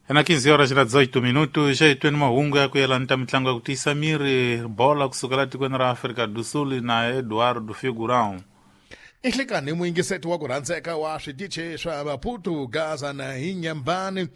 Na 15 horas na 18 minutos já itweni mahungu ya ku yelana ta mitlangu ya ku tiyisa miri bola kusukela tikweni ra Afrika do Sul na Eduardo Figurão. I nhlikani muyingiseti wa ku rhandzeka wa switichi swa Maputo, Gaza na Inhambane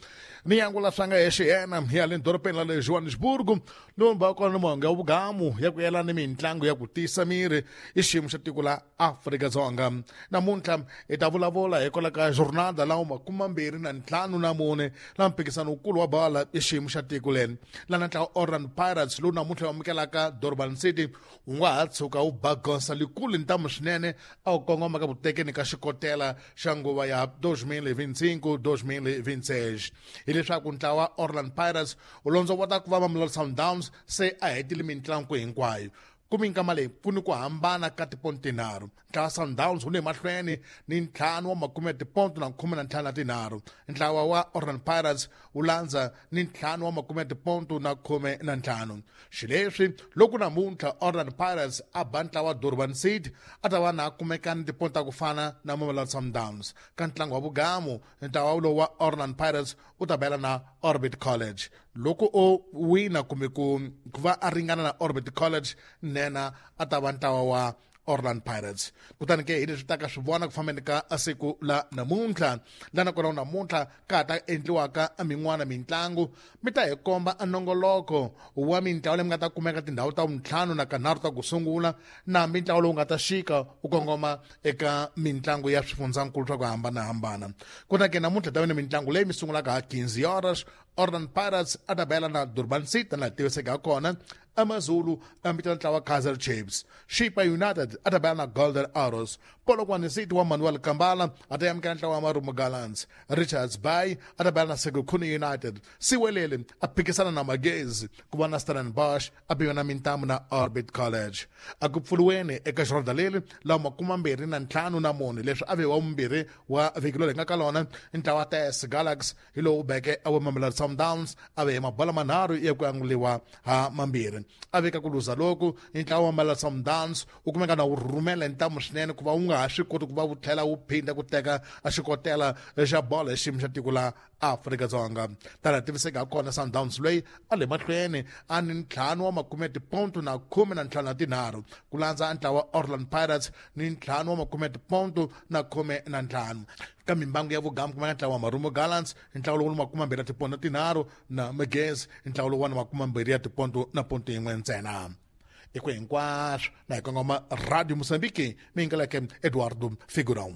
ni yangula swa nga hexe yena ya le dorobeni ra le Johannesburg lowu va kona monga vugamu ya ku yelana ni mitlangu ya ku tiyisa miri i xiyimo xa tiko la Afrika-Dzonga. Namuntlha hi ta vulavula hikwalaho ka jornada lawa 25 la mphikizano wukulu wa bola i xiyimo xa tiko leri lana ntlawa Orlando Pirates lowu namuntlha wu amukelaka Durban City wu nga ha tshuka wu ba goza likulu ntamu swinene a wu kongoma ka vutekeni ka xikotela xa nguva ya 2025-2026. Hileswaku ntlawa Orlando Pirates wu londzovota ku va Mamelodi Sundowns se a hetile mitlangu hinkwayo. Ku minkama leyi ku ni ku hambana ka tiponto tinharhu. Ntlawa Sundowns wu le mahlweni ni 5 wa makume ya tiponto na 15 na tinharhu. Ntlawa wa Orlando Pirates wu landza ni 5 wa makume ya tiponto na 15. Xileswi loko namuntlha Orlando Pirates a ba ntlawa Durban City a ta va na kumeka ni tiponto ta ku fana na Mamelodi Sundowns. Ka ntlangu wa vugamu ntlawa lowu wa Orlando Pirates u ta bela na Orbit College. Loko o wina kumbe ku va a ringana na Orbit College nena a ta va ntlawa wa Orlando Pirates. Kutani ke hi leswi taka swi vona ku fambeni ka siku la namuntlha lana kona namuntlha ka ha ta endliwaka min'wana mitlangu mi ta hi komba nongoloko wa mintlawa leyi mi nga ta kumeka tindhawu ta vuntlhanu na kanharhu ta ku sungula na mintlawa lowu nga ta xika wu kongoma eka mitlangu ya swifundzankulu swa ku hambanahambana. Kutani ke namuntlha ta va ni mitlangu leyi mi sungulaka ha 15 horas Orlando Pirates a ta bela na Durban City na tiviseke ha kona. AmaZulu a vitana ntlawa Kaizer Chiefs. Chippa United a ta bela na Golden Arrows. Polokwane City wa Manuel Kambala a ta amukela ntlawa wa Marumo Gallants. Richards Bay a ta bela na Sekhukhune United. Siwelele a phikisana na Magezi ku va na Stellenbosch a biwa na mintamu na Orbit College. A ku pfuriweni eka xirhonda leri lawa 25 leswi a ve wa vumbirhi wa vhiki leri hi nga ka lona ntlawa TS Galaxy hi lowu beke a wa Mamelodi Sundowns a ve mabola manharhu ya ku anguliwa ha mambirhi. A veka ku luza loku ntlawa wa Mamelodi Sundowns wu kumeka na wu rhumela ntamu swinene ku va wu nga ha swi koti ku va wu tlhela wu phinda ku teka a xikotela xa bolo hi xiyimo xa tiko la Afrika-Dzonga. Tana tiviseka ha kona Sundowns loyi a le mahlweni a ni 5 wa makume tiponto na 15 na tinharhu ku landza ntlawa Orlando Pirates ni 5 wa makume tiponto na 15. Ka mimbangu ya vugamu kumeka ntlawa wa Marumo Gallants ntlawa lowu 20 ya tiponto na tinharhu na Magezi ntlawa lowu wa 20 ya tiponto na ponto yin'we ntsena. I ku hinkwaswo na hi kongoma Radio Mozambique mi yingeleke Eduardo Figurão.